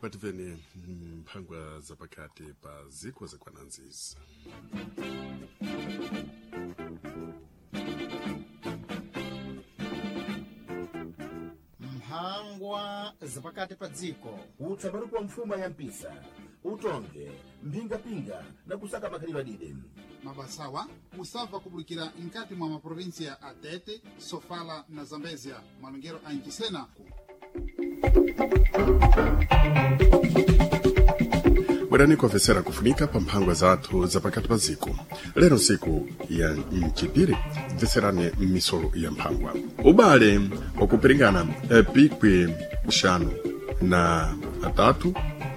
Pativeni mphangwa zapakati pa ziko zakwananzizi. Mphangwa zapakati pa dziko. Utsaparuku wa mfuma ya mpisa, utonge mphingapinga na kusaka makhalidwe adide. Mabasawa musabva kubulikira mkati mwa maprovinsia a Tete, Sofala na Zambezia, malongero a Nchisena. Bwerani kuofesera kufunika pa mphangwa zathu zapakati pa ziko. Lero nsiku ya mchipiri, bveserani misolo ya mphangwa. Ubale wakupiringana pikwi xanu na atatu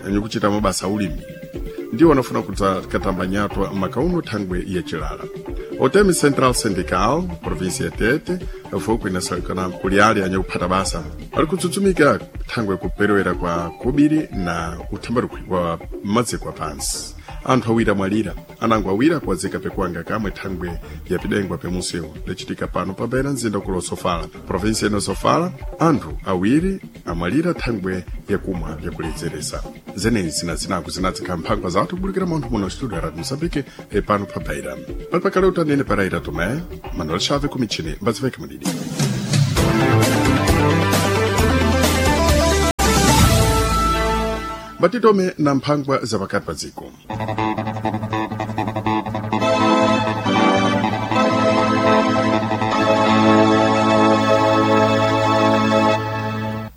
anyukuchita mabasa ulimi ndiwo anafuna katamba nyatwa makauno thangwe ya chilala. Otemi Central Syndical, província ya Tete, foko inasalikana kuli ali anyakuphata basa ali kutsutsumika thangwe kuperewera kwa kubiri na uthambarukhwi wa maziko apansi. Anthu awiri amwalira, anango awiri akuwazika pekuwanga kamwe thangwe ya pidengwa pemunsewu lachitika pano pabera mzinda ukulo Sofala, província ino Sofala. Anthu awiri amwalira thangwe yakumwa yakuledzeresa. Zenezi na zinaku zinadzikha mphangwa zathu kubulikira munthu muno studio ya Radio Mozambique pano pa Beira. Pali pakale utanene paraira Tomé Manuel Chave kumichini mbaziveke mudidi. Batitome na mphangwa zapakati pa dziko.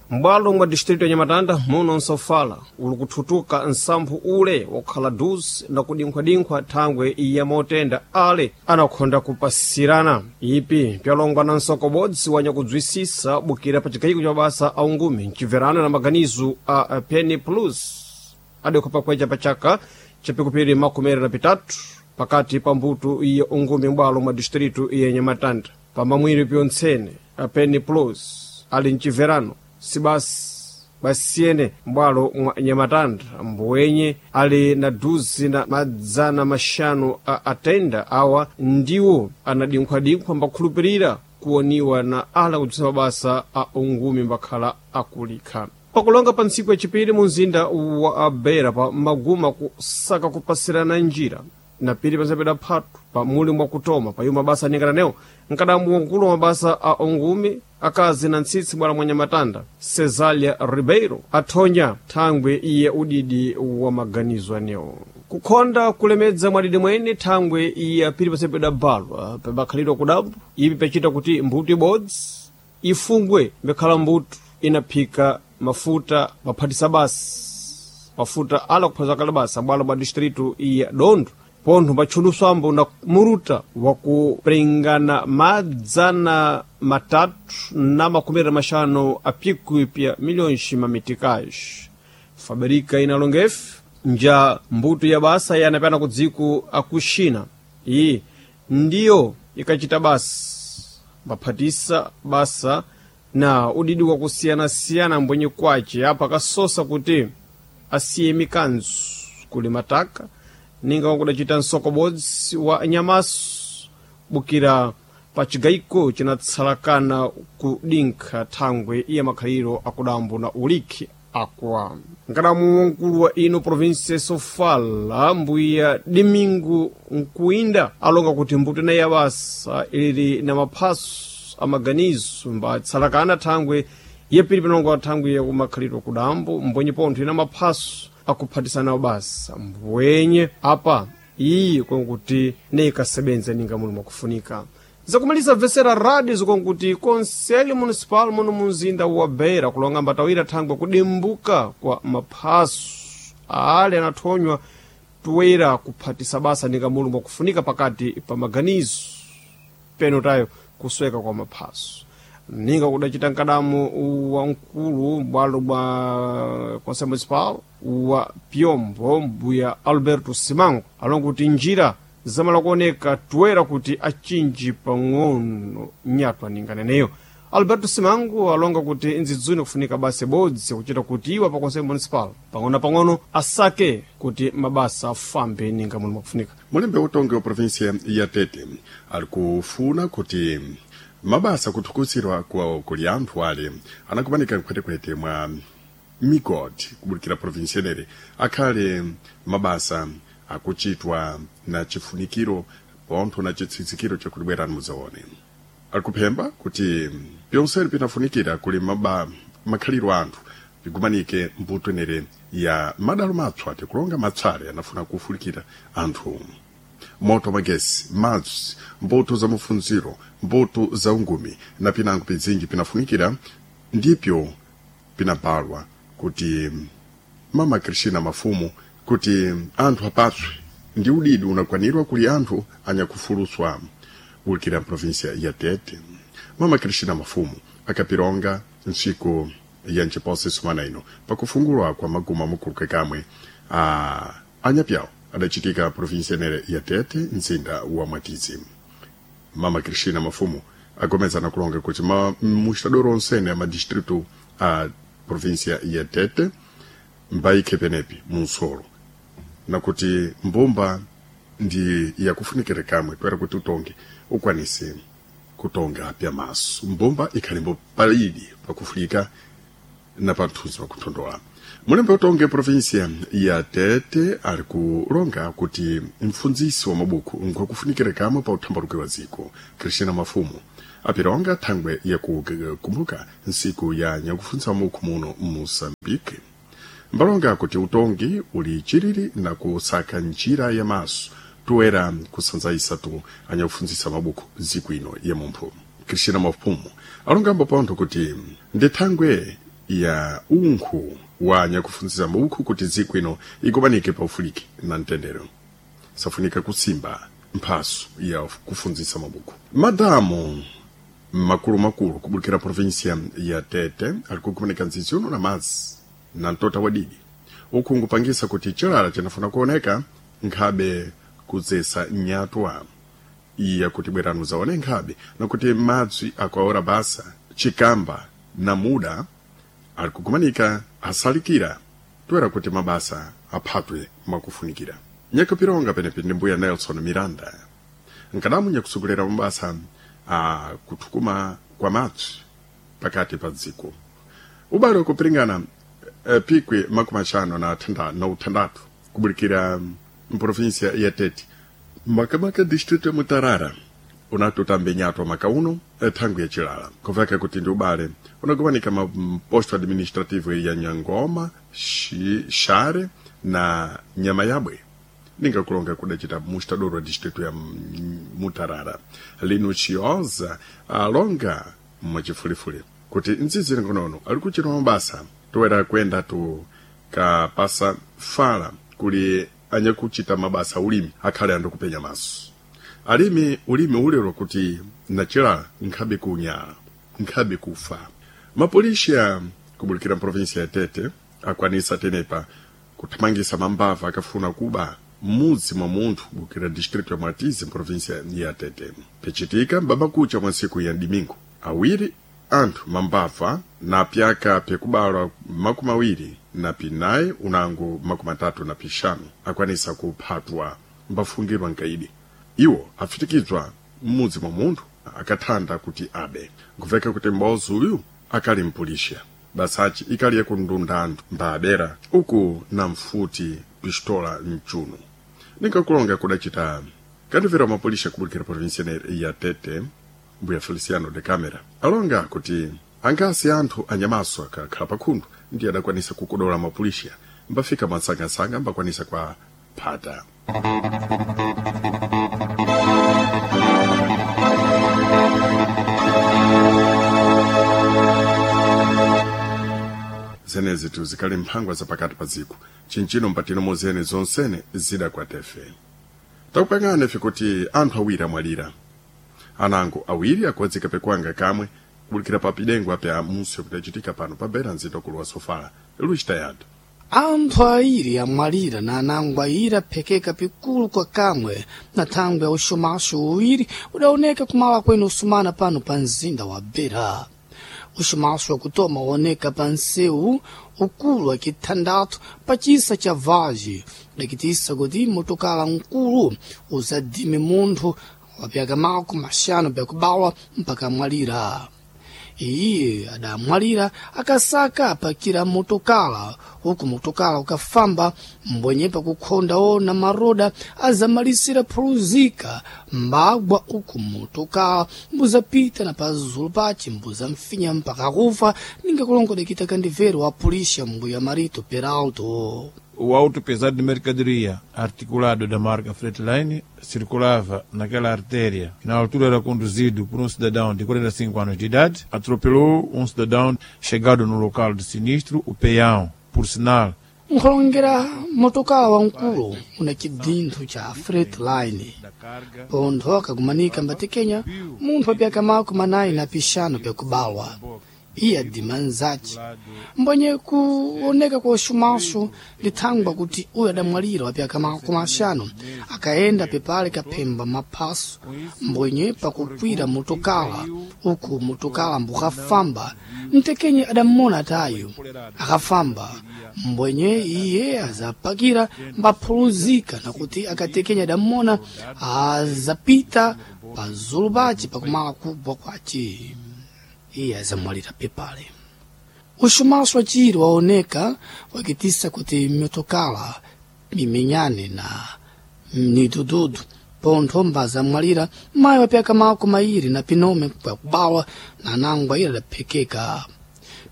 M'bwalo mwa distrito ya Nyamatanda muno nsofala uli kuthutuka nsamphu ule wokhala duzi na kudinkhwadinkhwa thangwe iya motenda ale anakhonda kupasirana. Ipi pyalongwa na nsoko bodzi wanyakudzwisisa bukira pa chigayiko cha mabasa a ungumi mcibverano na maganizo a Penny Plus adekho pakweca pa chaka cha pikupiri makumi na pitatu pakati pa mbuto iya ungumi m'bwalo mwa distrito iya Nyamatanda. Pamamwiri pyontsene a Penny Plus ali mcibverano sibasi basiyene m'bwalo mwa Nyamatanda mbuwenye ali na duzi na madzana maxanu a atenda awa ndiwo anadinkhwadinkhwa mbakhulupirira kuwoniwa na ala kudzisa mabasa a ungumi mbakhala akulikha. Pakulonga pa ntsiku yacipiri mu mzinda wa Beira pa maguma kusaka kupasirana njira na pili panzapeda phatu pa muli mwakutoma pa iwo mabasa aningananewo nkadamu wankulu wa mabasa a ungumi akazi na ntsitsi bwala mwa Nyamatanda Cesalia Ribeiro athonya thangwe iye udidi wa maganizo anewo kukhonda kulemedza mwadidi mwene thangwe iye apili pasepeda balwa pabakhalidwa kudambo ipi pachita kuti mbuto ibodzi ifungwe mbekhala mbuto inaphika mafuta maphatisa basi mafuta ala kuphaza kale basa bwalo bwa distrito iya Dondo pontho patchuluswambo na muruta wakuprengana 350 apikwi pya milhões mameticais. Fabrika inalongefe nja mbuto ya basa yanapyana ku dziko aku China iyi ndiyo ikachita basa mbaphatisa basa na udidi wakusiyanasiyana mbwenye kwace apa akasosa kuti asiye mikanzo kuli mataka ninga wakudacita nsoko bodzi wa nyamaso bukira pa cigayiko cinatsalakana kudinkha thangwe iya makhaliro akudambo na ulikhi akwa. Nkadamu wankulu wa ino provinsia Sofala mbuya Domingo Nkuinda alonga kuti mbuto inayi ya basa ilili na maphaso amaganizo mbatsalakana thangwe yapiri pinongo thangwe yakumakhaliro kudambo mbwenye pontho ina maphaso akuphatisana basa mbwenye apa iyi konkuti neikasebenza ninga muli mwakufunika. Zakumaliza vesera radio zikonkuti Conselho Municipal muno munzinda wa Beira kulonga mbatawira thangwe kudimbuka kwa maphaso ale anathonywa toera kuphatisa basa ninga muli mwakufunika pakati pa maganizo peno tayo kusweka kwa maphaso ninga kudacita nkadamu wa mkulu bwalo bwa Conselho Municipal wa Piombo mbuya Alberto Simango alonga kuti njira zamala kuoneka toera kuti achinji pang'ono nyatwa ninganeneyo. Alberto Simango alonga kuti nzidzuni kufunika basa ibodzi kuchita kuti iwo pa Conselho Municipal pang'ono-pang'ono asake kuti mabasa afambe ninga muli mwakufunika. Mulembe utongi wa província ya Tete ali kufuna kuti mabasa kuthukusirwa kwa kuli anthu ale anakumanika mkhwetekhwete mwa migodi kubulikira provinsi yenere akhale mabasa akuchitwa na chifunikiro pontho na chitsitsikiro chakuti bwerani mudzaone. Ali kuphemba kuti pyonsene pinafunikira kuli makhaliro anthu pigumanike mbuto enere ya madalo matswa tikulonga matsale anafuna kufulikira anthu moto magesi, madzi, mbuto za mafunziro, mbuto za ungumi na pinango pizinji pinafunikira ndipyo pinabalwa kuti mama Cristina Mafumu kuti anthu apatswe ndi udidi unakwanirwa kuli anthu anyakufuluswa kulikira provinsia ya Tete. Mama Cristina Mafumu akapironga ntsiku ya nchiposa sumana ino pakufungulwa kwa maguma mukuluke kamwe a anyapyawo adachitika provinsia enere ya Tete, mzinda wa Mwatizi. Mama Cristina Mafumu agomezana kulonga kuti mustadoro onsene a madistritu a provinsia ya Tete mbaikhe penepi munsolo nakuti mbumba ndi yakufunikira kamwe toera kuti utonge ukwanise kutonga pya maso. Mbumba ikhalimbo palidi pakufulika na panthuzi pakuthondola. Mulembe utonge provinsia ya Tete ali kulonga kuti mfundzisi wa mabuku nkwakufunikira kamwe pa uthambaluke wa dziko. Cristina Mafumu apironga thangwe yakukumbuka nsiku ya nyakufundzisa mabuku muno Moçambique. Mbalonga kuti utongi uli chiriri na kusaka njira ya maso toera kusanzaisa tu anyakufundzisa mabuku dziko ino ya mumphu. Cristina Mafumu alongambo pontho kuti ndi thangwe ya unkhu wa anyakufundzisa mabuku kuti dziko ino ikumanike paufuliki na mtendere. Safunika kusimba mphaso ya kufundzisa mabuku. Madamu makulumakulu kubulikira provinsia ya Tete ali kukumanika nzizi uno na madzi na mtota wadidi uku nkupangisa kuti chilala chinafuna kuoneka nkhabe kudzesa nyatwa iya kuti bwerani muzaone nkhabe nakuti madzi akwaora basa chikamba na muda ali kukumanika asalikira toera kuti mabasa aphatwe mwakufunikira. Nyakupironga penepi ndi mbuya Nelson Miranda nkadamu nyakusogolera mabasa a kuthukuma kwa madzi pakati pa dziko. Ubale wakupiringana pikwi 56 kubulikira mprovinsia ya Tete makamaka distrito ya Mutarara unatutambe nyatwa maka uno thangwi ya chilala kuveka kuti ndi ubale unakumanika maposto administrativo ya Nyangoma, Share na Nyamayabwe ningakulonga kudacita mustadoro wa distrito ya Mutarara. Lino Chioza alonga mwachifulifuli kuti nzizi ngonono ali kuchita mabasa toera kwenda tu kapasa fala kuli anyakuchita mabasa ulimi akhale andu kupenya maso. Alimi ulimi ulero kuti nachilala nkhabe kunyala nkhabe kufa. Mapolisha kubulikira provinsia ya Tete akwanisa tenepa kuthamangisa mambava akafuna kuba mudzi mwa munthu kubukira distrito ya Mwatizi provinsia ya Tete. Pichitika mbabakucha mwa ntsiku ya Dimingo awiri anthu mambava na pyaka pyekubalwa 24 unango 35 akwanisa kuphatwa mbafungirwa nkaidi. Iwo afitikizwa mmudzi mwa munthu akathanda kuti abe. Nkuveka kuti mbozi uyu akali mpulisha basachi ikali yakundunda anthu mbabera uku na mfuti pistola mchuno. Ninkakulonga kudacita kandivera mapolisha kubulikira provinsia ya Tete mbuya Feliciano de Camera alonga kuti angasi anthu anyamaso akakhala pakhundu ndiye adakwanisa kukodola mapulisha mbafika mwansangasanga mbakwanisa kwa phata. Zenezi tuzikali mphangwa zapakati pa dziko chinchino mpatino mozene zonsene zidakwatefe. Takupangana ife kuti anthu awiri amwalira anango awiri akuwadzika pekwanga kamwe kubulikira pa pidengo pya musi kutachitika pano pa bera nzito kuluwa sofala luchitayatu. Anthu airi amwalira na anango airi aphekeka pikulu kwa kamwe na thangwe ya uxumaxo uwiri udaoneka kumala kwene usumana pano pa mzinda wa Beira. Uxumaxo wakutoma waoneka pa nsewu ukulu wa kithandathu pa cisa cha Vage, udakitisa kuti motokala nkulu uzadime munthu wa pyaka 50 pyakubalwa mpaka amwalira. Iye adamwalira akasaka apakira motokala uku motokala ukafamba mbwenye pakukhonda ona maroda azamalisira phuluzika mbagwa uku motokala mbuzapita na pazulu pace mbuzamfinya mpaka kufa ninga kulongodekita kandivero wa pulisha mbuya Marito Peralto. O auto pesado de mercadoria, articulado da marca Freightline, circulava naquela artéria, que na altura era conduzido por um cidadão de 45 anos de idade, atropelou um cidadão chegado no local do sinistro, o peão, por sinal. Nkhulongera motokala wamkulu una chidinthu cha Freightline pontho akakumanika mbatekenya munthu apyaka mako manayi na pixanu pyakubalwa. Iye adima nzace mbwenye kuoneka kwa uxumaxo lithangwa kuti uyu adamwalira wapyaka makumi axanu akayenda pepale kaphemba maphaso mbwenye pakukwira motokala uku motokala mbukafamba mtekenye adammona tayo akafamba mbwenye iye azapakira mbaphuluzika nakuti akatekenya adammona azapita pazulu pace pakumala kubwa kwace iye azamwalira pepale. Uxumaxo waciri waoneka wakitisa kuti mitokala mimenyane na midududu pontho mbazamwalira mayi wapyaka mako mairi na pinome pyakubawa na nangwa ira adaphekeka.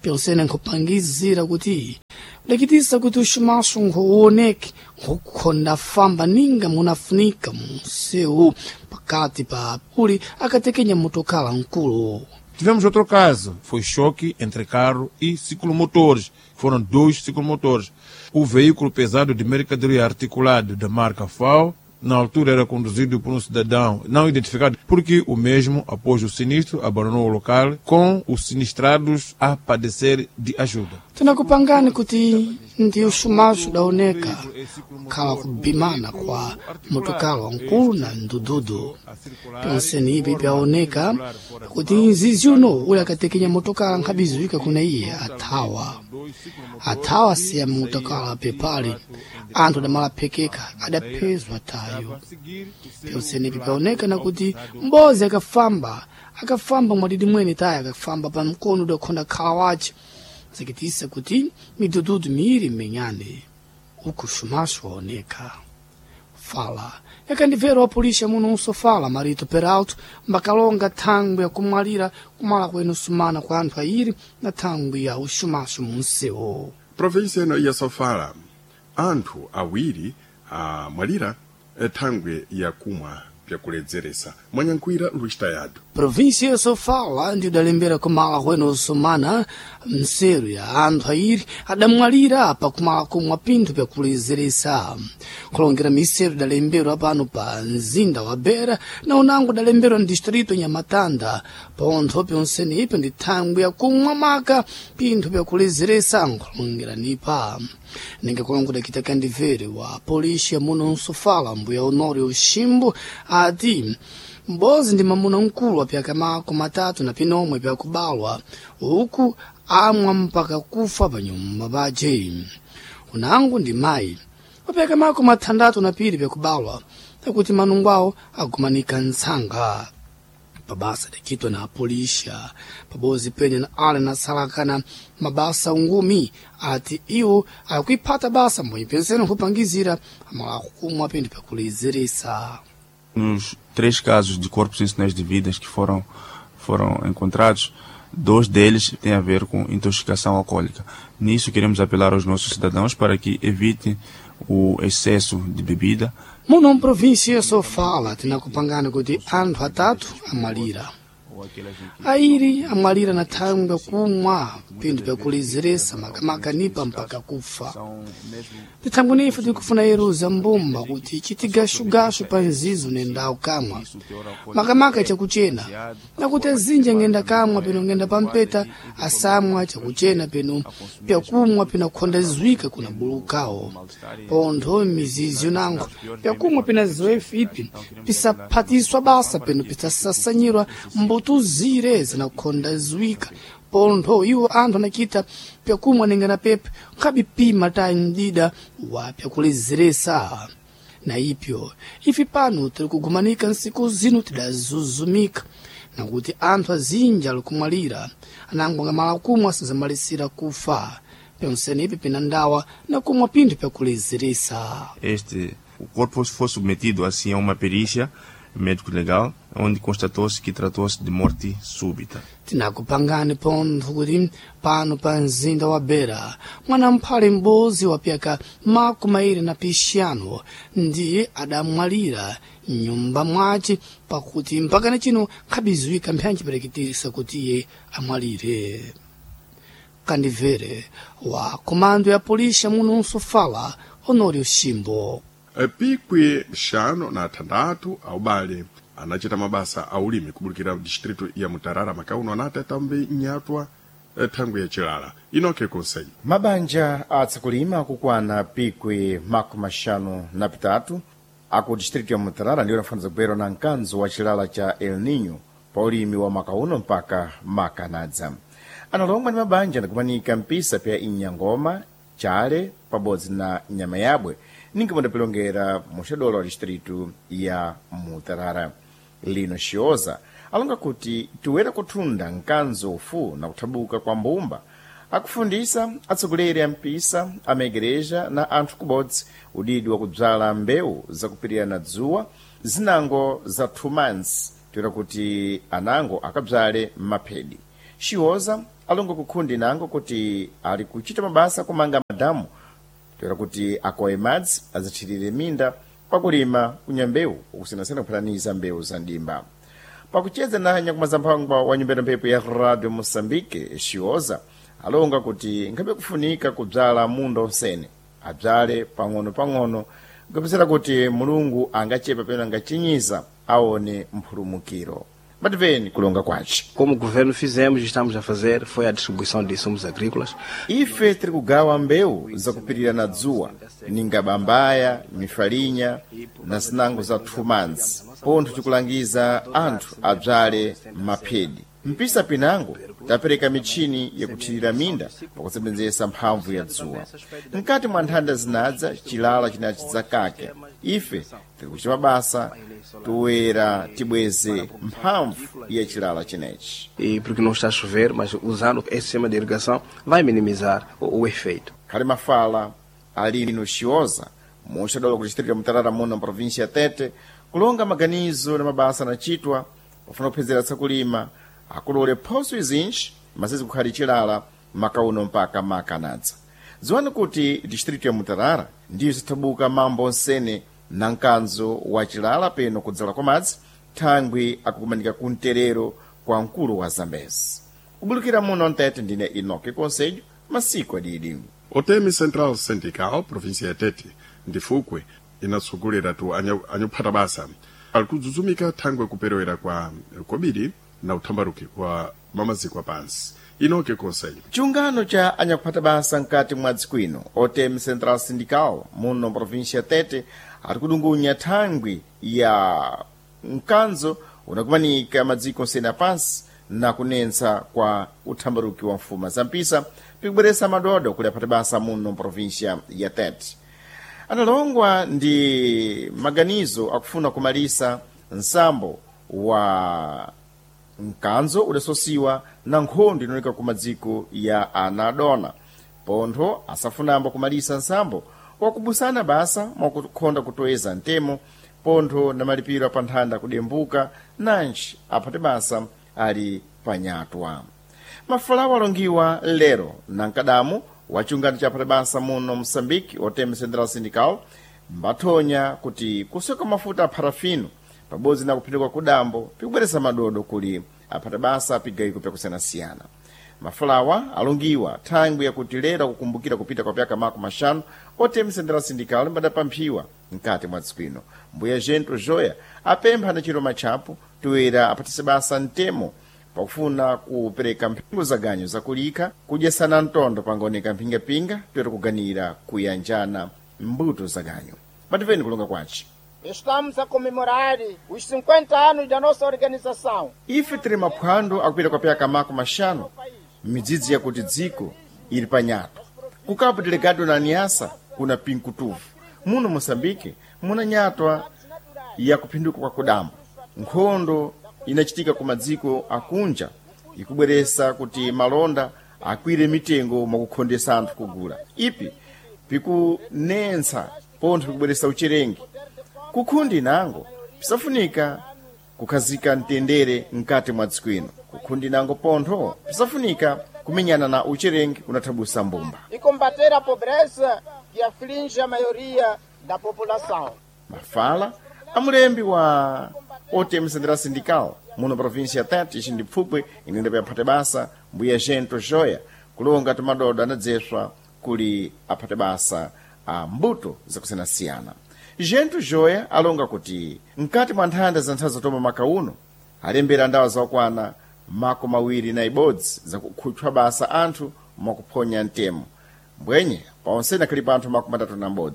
Pyonsene nkhupangizira kuti udakitisa kuti uxumaxo nkhuwoneke nkukhonda famba ninga munafunika munsewu pakati pa uli akatekenya motokala nkulu. Tivemos outro caso, foi choque entre carro e ciclomotores. Foram dois ciclomotores. O veículo pesado de mercadoria articulado da marca FAO, na altura era conduzido por um cidadão não identificado, porque o mesmo, após o sinistro, abandonou o local com os sinistrados a padecer de ajuda. Tinakupangani kuti ndi uxumaxo udaoneka khala kubimana kwa motokala wankulu na ndududu. Pyonseni ipi pyaoneka kuti nzizi uno uli akatekenya motokala nkhabiziwika kuna iye athawa athawa siya motokala pepale anthu adamalaphekeka adaphezwa tayo. Pyonseni ipi pyaoneka nakuti mbozi akafamba akafamba mwadidi mwene tayo akafamba pa mkono udakhonda khala wace zikitisa kuti midududu miiri menyane uku xumaxo waoneka. Fala yakandibvera wa pulisha muno unsofala Marito Peralto mbakalonga thangwi yakumwalira kumala kwenu sumana kwa anthu ayiri na thangwi ya uxumaxo munsewu. Provinsi ino ya Sofala anthu awiri amwalira thangwi yakumwa pyakuledzeresa mwanyankhwira Luis Tayado. Província ya Sofala ndi udalembera kumala kwenu usumana mseru ya anthu ayiri adamwalira pakumala kumwa pinthu pyakulezeresa. Kulongera miseru idalemberwa pano pa mzinda wa Beira na unango udalemberwa ndistrito Nhamatanda pontho pyonsene ipo ndi thangwi yakumwa maka pinthu pyakulezeresa nkulongera nipa. Ninga kulongoda kita kandivere wa polícia muno nsofala mbuya Honório Ximbo ati mbozi ndi mamuna mkulu wapyaka mako matatu na pinomwe pyakubalwa uku amwa mpaka kufa panyumba pace. Unangu ndi mayi wapyaka mako mathandatu na pili pyakubalwa takuti manungu awo agumanika ntsanga. Pabasa adacitwa na apolisha pabozi penye na ale nasalakana mabasa ungumi ati iwo akuiphata basa mbwenye pensene nkupangizira amala kumwa pinthu pyakulezeresa. Nos três casos de corpos sem sinais de vidas que foram encontrados, dois deles têm a ver com intoxicação alcoólica. Nisso, queremos apelar aos nossos cidadãos para que evitem o excesso de bebida. Muno mprovinsia Sofala tinakupangana kuti anthu atatu amwalira. Airi amwalira na thangwi kumwa pinthu pyakulezeresa makamaka nipa mpaka kufa. Tithangwi nife tikufuna yeruza mbumba kuti chitigashugashu pa nzizo nendawu kamwa makamaka chakuchena nakuti azinji angenda kamwa peno ngenda pampeta asamwa chakuchena peno pyakumwa peno akhonda zwika kuna bulukawo pontho mizizi unango pyakumwa pena ziwefu ipi pisaphatiswa basa peno pisasasanyirwa mbutuzire zinakhonda zwika pontho iwo anthu anachita pyakumwa ninga na pepe nkhabipima tayi mdida wa pyakulezeresa. Na ipyo ife pano tiri kugumanika nsiku zino tidazuzumika. Nakuti anthu azinji ali kumwalira anango ngamala kumwa asazamalisira kufa. Pyonsene ipi pina ndawa na kumwa pinthu pyakulezeresa. Este, o corpo foi submetido assim a uma perícia médico-legal, onde constatou-se que tratou-se de morte súbita. Tinakupangani pontho kuti pano pa mzinda wa Beira mwana mphale m'bodzi wa pyaka 25 ndiye adamwalira mnyumba mwace, pakuti mpakana chino nkhabiziwika mphanchipereketesa kuti iye amwalire. Kandivere wa komando ya polisi muno Msofala, Honório Shimbo. Pikwi 56 aubale anachita mabasa a ulimi kubulikira distritu ya Mutarara makauno anati atambe nyatwa thangwi ya chilala. Inoke Conselho. Mabanja atsakulima akukwana pikwi 53 aku distritu ya Mutarara ndiwo anafaniza kubwera na mkanzo wa chilala cha El Nino pa ulimi wa maka uno mpaka makanadza. Analongwa ndi mabanja anakumanika mpisa pya Inyangoma, Chale pabodzi na Nyama Yabwe, ninga mudapilongera muxadolo wa distritu ya Mutarara. Lino Xioza alonga kuti tiwera kuthunda mkanzo ufu na kuthabuka kwa mbumba, akufundisa atsogoleri a mpisa amaigreja na anthu kubodzi udidi wa kubzala mbewu zakupirira na dzuwa zinango za 2 months, toera kuti anango akabzale maphedi. Xioza alonga kukhundi nango kuti ali kuchita mabasa kumanga madamu toera kuti akowe madzi azathirire minda pakulima kunyambewu ukusenasena kuphataniza mbewu za ndimba. Pakucheza na nyakumazamphangwa wa nyumba ya mphepo ya Radio Moçambique, Xioza alonga kuti nkhabe kufunika kubzala munda onsene, abzale pang'ono-pang'ono kupezera kuti Mulungu angachepa pena angachinyiza aone mphulumukiro. Mativeni kulonga kwace. Como governo fizemos e estamos a fazer foi a distribuição de insumos agrícolas. Ife tiri kugawa mbewu zakupirira na dzuwa, ninga bambaya, mifalinya na zinango za 2 months, pontho tikulangiza anthu abzale maphedi. Mpisa pinango tapereka michini yakuthirira minda pakusebenzesa mphamvu ya dzuwa. Mkati mwa nthanda zinadza chilala chinachi zakake, ife tiri kuchita mabasa toera tibweze mphamvu ya chilala chinechi. E porque não está a chover, mas usando esse sistema de irrigação vai minimizar o efeito. Khali mafala alino Xioza muxadolo ku distrito ya Mutarara muno província ya Tete kulonga maganizo na mabasa anachitwa pofuna kuphezera tsakulima akulole phoso izinji masizi kukhali chilala makauno mpaka makanadza. Dziwani kuti distrito ya Mutarara ndiyo zithabuka mambo onsene na mkanzo wa chilala peno kudzala kwa madzi thangwi akukumanika ku mterero kwa mkulu wa Zambezi. Kubulukira muno Mtete, ndine Inoke Conselho, masiku adidi. Otemi Central Syndical província ya Tete ndifukwe inatsogolera tu anyakuphata basa ali kudzudzumika thangwi kuperewera kwa kobiri na uthambaruki wa mamaziko apansi. Inoke Conselho. Chiungano cha anyakuphata basa mkati mwa dziko ino Otemi Central Syndical muno província ya Tete ari kudungunya thangwi ya mkanzo unakumanika madziko onsene apansi na kunensa kwa uthambaruki wa mfuma za mpisa pikubweresa madodo kuli aphata basa muno província ya Tete. Analongwa ndi maganizo akufuna kumalisa nsambo wa mkanzo udasosiwa na nkhondo inooneka ku madziko ya anadona, pontho asafunambo kumalisa nsambo wakubusana basa mwakukhonda kutoeza ntemo pontho na malipiro apanthanda kudembuka nanji aphate basa ali panyatwa. Mafalawo alongiwa lero na mkadamu wa chiungano cha aphate basa muno Moçambique Otemi Central Syndical mbathonya kuti kusoka mafuta a parafino pabodzi na kuphinduka kudambo pikubweresa madodo kuli aphata basa pigayiko pyakusiyanasiyana. Mafalawa alongiwa thangwi yakuti lero akukumbukira kupita kwa pyaka 50 Otemi Central Syndical mbadapamphiwa mkati mwa dziko ino. Mbuya Gento Joya apempha na chiroma chapo toera apatise basa mtemo pakufuna kupereka mphingo za ganyo zakulikha kudyesana mtondo pangaoneka mphingapinga toera kuganira kuyanjana mbuto za ganyo. Mativeni kulonga kwace. Estamos a comemorar os 50 anos da nossa organização. Ife tiri maphwando akupita kwa pyaka 50 midzidzi yakuti dziko ili panyato. Ku Cabo Delgado na Niassa kuna pinkutuvu. Muno Moçambique muna nyatwa ya kuphinduka kwa kudambo, nkhondo inachitika ku madziko akunja ikubweresa kuti malonda akwire mitengo mwakukhondesa anthu kugula. Ipi pikunensa pontho pikubweresa ucherengi. Kukhundi nango pisafunika kukhazika mtendere mkati mwa dziko ino. Kukhundi nango pontho pisafunika kumenyana na ucherengi unathabusa mbumba. E combater a pobreza que aflige a maioria da população. Mafala amulembi wa OTM Central Sindical muno província ya Tete ici ndi pfupwe inenda payaphate basa mbuya Gento Joya kulonga tumadodo anadzeswa kuli aphate basa a mbuto zakusiyanasiyana. Gento Joya alonga kuti mkati mwa nthanda za nthawi zatoma maka uno alembera ndawa zakwana 21 zakukhutchwa basa anthu mwakuphonya mtemo mbwenye paonsene akhalipo anthu 31.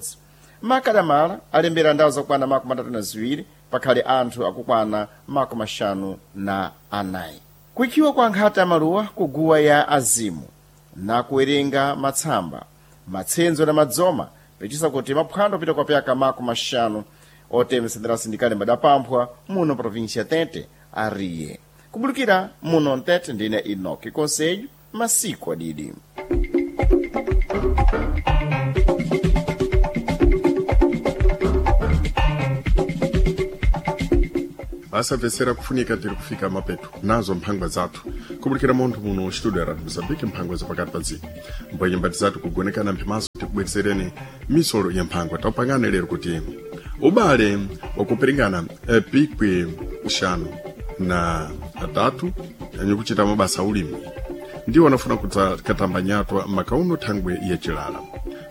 Makadamala alembera ndawo zakwana 32 pakhale anthu akukwana 54. Kuikhiwa kwa nkhata maluwa kuguwa ya azimu na kuwerenga matsamba matsenzo na madzoma pechisa kuti maphwando apita kwa pyaka 50 OTM Central Sindikale mbadapamphwa muno província Tete ariye kubulukira muno Ntete ndine Enoki Conselho masiku adidi. Asamvetsera kufunika tiri kufika mapeto nazo mphangwa zathu kubulikira munthu muno studio ya Radio Mozambique mphangwa zapakati pa dziko mbwenye mbati zathu kugonekana mphimaso tikubweretsereni misolo ya mphangwa. Tapangane lero kuti ubale wakuperingana pikwi 53 anyikuchita mabasa ulimi ndiwo anafuna katamba nyatwa makauno thangwe yacilala.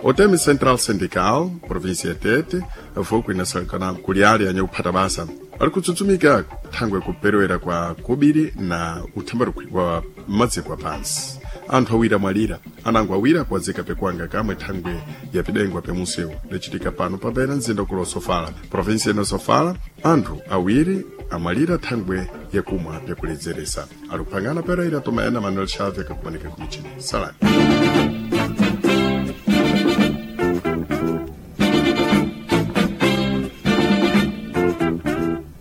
OTM Central Syndical província ya Tete voku inasalikana kuli ali anyakuphata basa ali kutsutsumika thangwe kuperewera kwa kobiri na uthambarukwi wa madziko apansi. Anthu awiri amwalira anango awiri akuwazika pekwanga kamwe thangwe yapidengwa pemusewu lecitika pano papena mzinda ukulu wa Sofala província ino Sofala. Anthu awiri amwalira thangwe yakumwa pyakuledzeresa. Ali kuphangana Pereira Tomaena Manuel Xavier kakumanika kumichini. Salani.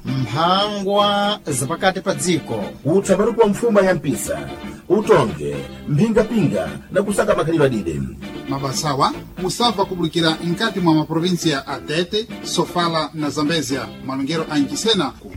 Mphangwa zapakati pa dziko. Utsabaruku wa mfuma ya mpisa utonge mphingapinga na kusaka makhalidwe adide. Mabasawa musabva kubulikira mkati mwa maprovinsia a Tete, Sofala na Zambezia. Malongero a Nchisena ku